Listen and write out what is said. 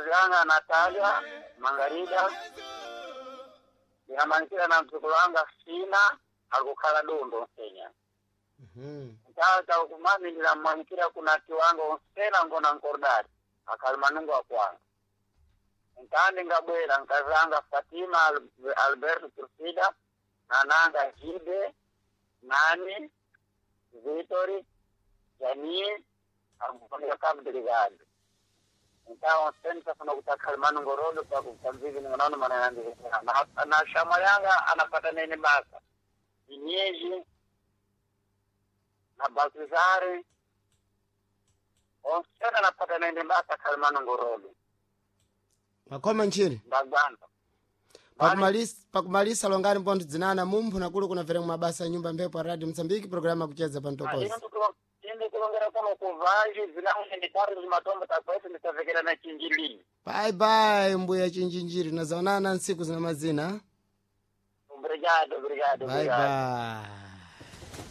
Nkazi anga Natalia Mangarida. Ndinamwanikira na mdzukulu wanga Fina akukhala Dundo Kenya. Tata ukumami ndinamwanikira kuna tiwango onsena ngona nkordari akali manungu akwanga. Ntandi ngabwera nkazi anga Fatima Alberto Turfida nananga Jibe Nani Vitori Janie agukoneka Cabo. Então, sempre funa kutakhala manungorodo pakukamvivi ningonaona mananandikana na shama yanga anapata nene basa inyeji na Baltizari onsena anapata nene basa khali manungorodo. Makoma ntchire. Ndagwanda. Pakumalisa longani mpontho dzinana mumphu nakulu kunamvera mabasa ya nyumba mphepo ya Radio Msambiki programa yakucheza pa mtokozi. Inde kulongera kuno kuvaji zilangu nditari zimatombo takwetu ndisavekera na chinjilini. Bye bye mbuya chinjinjiri nazaonana ntsiku zina mazina. Obrigado, obrigado, Bye obrigado. bye.